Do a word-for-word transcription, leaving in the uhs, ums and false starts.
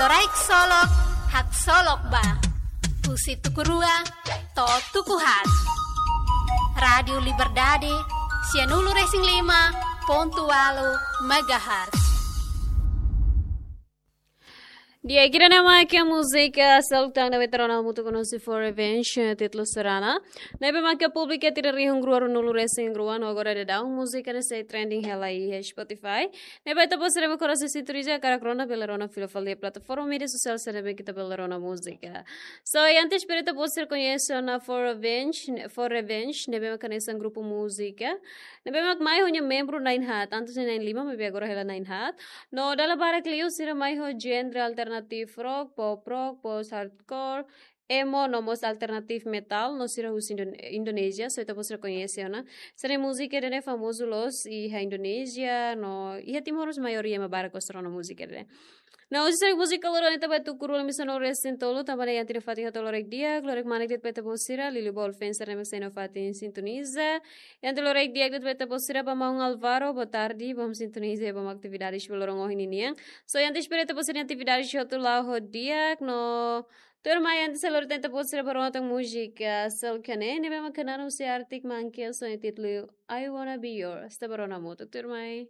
Loraik Solok, Haksolok Ba. Husi tuku rua to'o tuku haat. Rádiu Liberdade, sianulu-resin-lima pontu ualu megahertz. Di'ak, ida-ne'e mak múzika seluk tan ne'ebé ita rona hamutuk ho nossi For Revenge, eh, títulu Sorana. Ne'ebé mak publika iha tinan rihun rua ruanulu-resin-rua no agora daudaun múzika ne'e sei trending hela iha Spotify. Ne'ebé ita-boot sira mak horas sintoniza, hakarak rona bele rona fila fali iha plataforma média sosiál sira ne'ebé ita bele rona múzika. So, i antes para ita-boot sira koñese ona For Revenge, ne-, For Revenge, ne'ebé mak hanesan grupu múzika. Ne'ebé mak mai ho nia membru na'in haat, antes ne'e na'in-lima, maibé agora hela na'in haat. No dala barak liu sira mai ho genre alternative rock, pop rock, post hardcore, emo, no mós alternative metal, no sira husi Indon-, Indonézia, so ita-boot sira koñese ona. Sira-nia múzika ida-ne'e famozu loos iha Indonézia, no iha Timor mós maioria ema barak gosta rona múzika ida-ne'e. No husi sira-nia múzika loron ita bá tuku rua misa no resin tolu, tanba ne'e iha tinan fatin hotu loraik di'ak, loraik manek de'it ba ita-boot sira, liuliu ba all fans sira ne'ebé sei iha fatin sintoniza. Iha tinan loraik di'ak de'it ba ita-boot sira, ba maun Alvaro, boa tarde, bom sintoniza, bom atividades ba loron ohin ninian. So, i antes para ita-boot sira-nia atividades hotu la'o ho di'ak, no tuirmai antes ha'u hato'o tan ita-boot sira ba rona tan múzika seluk ne'e, ne'ebé mak hanesan husi Arctic Monkeys, ho nia títulu I Wanna Be Yours. Ita bá rona hamutuk, tuirmai.